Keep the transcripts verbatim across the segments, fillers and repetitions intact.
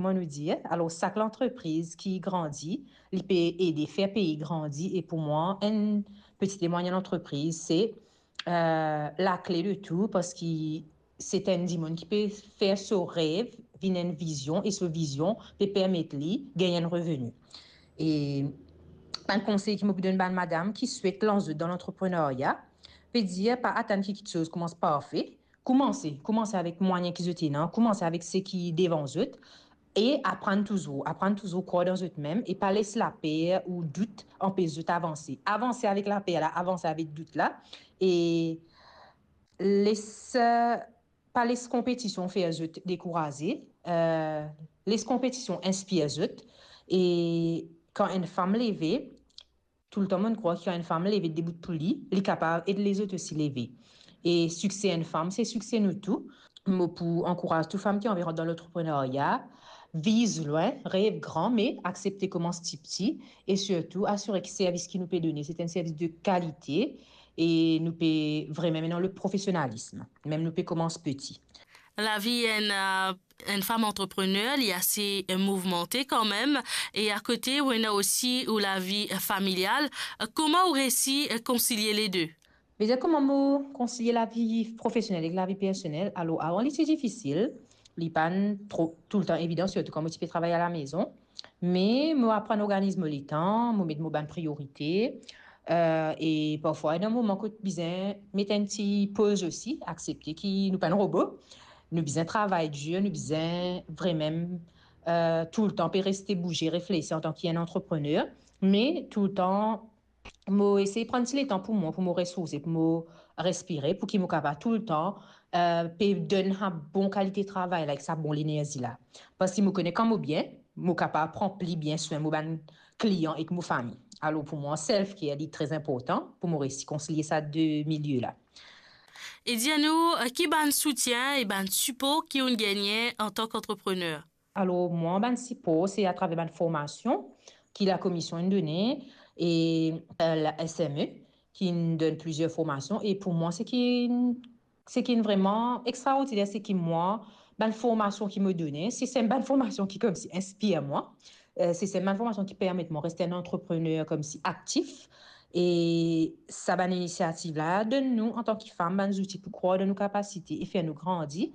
kouma nou dir. Alor, sak lantrepriz ki grandi, li pe ede fer pei grandi. E pou mwa, enn peti e mwayinn lantrepriz, se, eh, lakle de tou, parski se enn dimoun ki pe fer so rev vinn enn vizion, e so vizion pe permet li gagn enn reveni. E bann konsey ki mo pou donn bann madam ki swet lans zot dan lantreprenarya, pe dir, pa atann ki kiksoz koumans parfe. Koumanse, koumanse avek mwayin ki zot ena, koumanse avek seki devan zot, e aprann touzour, aprann touzour krwar dan zot mem, e pa les laper ou dout anpes zot avanse. Avanse avek laper la, avanse avek dout la, e les, eh, pa les konpetision fer zot dekouraze, eh, les konpetision inspir zot. E kan enn fam leve, toultan mo'nn krwar ki kan enn fam leve debout pou li, li kapav ed lezot osi leve. E sikse enn fam, se sikse nou tou. Mo pou ankouraz tou fam ki anvi rant dan lantreprenarya, viz lwin, rev gran, me aksepte koumans tipti, e sirtou asire ki servis ki nou pe done, se enn servis de kalite, e nou pe vremem ena le profesionalism, mem nou pe koumans peti. Lavi enn, eh, enn fam antreprener, li ase, eh, mouvmante kanmem, e akote ou ena osi ou lavi, eh, familial. Eh, kouma ou resi, eh, konsilie le de? Vedir kouma mo konsilie lavi profesionel ek lavi personel? Alor, avan li ti difisil, li pa'nn tro, toultan evidan, sirtou kan mo ti pe travay alamezon. Me mo aprann organiz mo letan, mo met mo bann priorite, eh, e parfwa ena moman kot bizin met enn ti poz osi, aksepte ki nou pa enn robo, nou bizin travay dir, nou bizin vremem, eh, toultan pe reste bouze, reflesi antan ki enn antreprener, me toultan mo esey pran ti letan pou mwa, pou mo resourse, pou mo respire, pou ki mo kapav toultan, eh, pe donn sa bon kalite travay la ek sa bon lenerzi la. Parski mo kone kan mo bien, mo kapav pran pli bien swin mo bann klian ek mo fami. Alor pou mwa, self-care li tre inportan pou mo resi konsilie sa de milie la. E dir nou, eh, ki bann soutien e bann sipor ki ou'nn gagne antan ki antreprener? Alor, mwa, bann sipor, se atraver bann formasion ki lakomision inn done e, eh, la S M E, ki inn donn plizier formasion. E pou mwa, seki, seki vreman extraordiner, seki mwa, bann formasion ki mo done, se, se bann formasion ki koumsi inspir mwa. Eh, se, se bann formasion ki permet mwa reste enn antreprener koumsi aktif. E sa bann inisiativ la donn nou, antan ki fam, bann zouti pou krwar dan nou kapasite e fer nou grandi.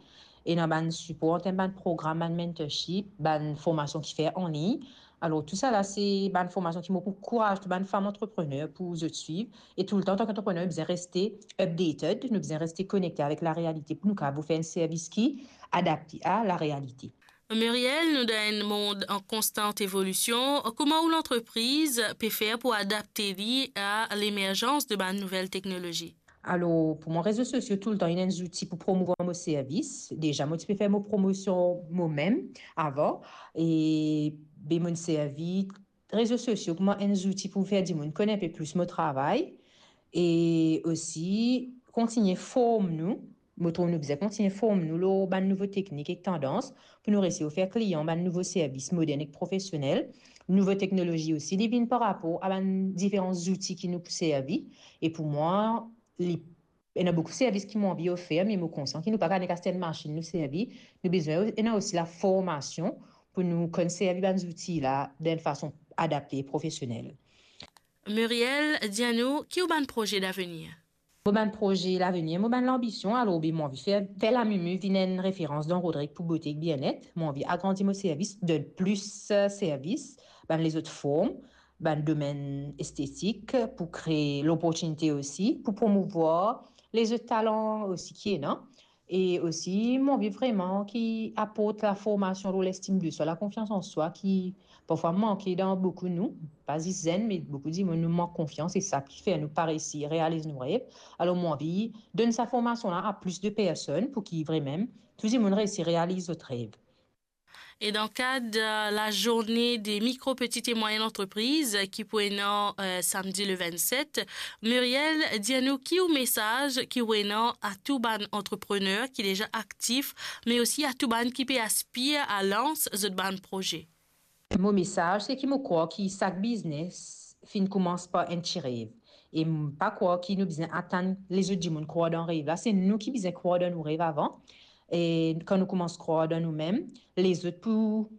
Ena bann sipor, antan bann program, bann mentorship, bann formasion ki fer anlign. Alor, tousala, se bann formasion ki mo pou ankouraz tou bann fam antreprener pou zot swiv. E toultan, antan ki antreprener, nou bizin reste updated, nou bizin reste konekte avek larealite pou nou kapav fer enn servis ki adapte a larealite. Muriel, nou dan enn mond an konstant evolision. Kouma ou lantrepriz pe fer pou adapte li a lemerzans de bann nouvel teknolozi? Alor, pou mwa, rezo sosio toultan inn enn zouti pou promouvwar mo servis. Deza, mo ti pe fer mo promosion momem avan, e be mo'nn servi rezo sosio kouma enn zouti pou fer dimoun konn enpe plis mo travay, e osi kontign form nou. Mo trouv nou bizin kontign form nou lor bann nouvo teknik ek tandans pou nou resi ofer klian bann nouvo servis modern ek profesionel. Nouvo teknolozi osi, li vinn par rapor a bann diferan zouti ki nou pou servi. E pou mwa, li, ena boukou servis ki mo anvi ofer, me mo konsian ki nou pa kapav nek aste enn masinn nou servi. Nou bizin ena osi laformasion pou nou konn servi bann zouti la dan enn fason adapte e profesionel. Muriel, dir nou, ki ou bann proze davenir? Mo bann proze lavenir, mo bann lanbision, alor, be mo anvi fer, fer Lamumu vinn enn referans dan Rodrigues pou bote ek bienet. Mo anvi agrandi mo servis, donn plis, eh, servis, bann lezot form, bann domenn estetik, pou kree loportinite osi, pou promouvwar lezot talan osi ki ena. E osi, mo anvi vreman ki aport laformasion lor lestim de swa, lakonfians an swa ki parfwa manke dan boukou nou, pa zis zenn, me boukou dimoun, nou mank konfians, e sa ki fer nou pa resi realiz nou rev. Alor, mo anvi donn sa formasion la a plis de personn pou ki vremem tou dimoun resi realiz zot rev. E dan kad, eh, lazourne de mikro, petit e mwayin lantrepriz, eh, ki pou ena, eh, samdi le vennset, Muriel, dir nou ki ou mesaz ki ou ena a tou bann antreprener ki deza aktif, me osi a tou bann ki pe aspir a lans zot bann proze? Mo mesaz, se ki mo krwar ki sak biznes finn koumans par enn ti rev. E mo pa krwar ki nou bizin atann lezot dimoun krwar dan rev la. Se nou ki bizin krwar dan nou rev avan. E kan nou koumans krwar dan noumem, lezot pou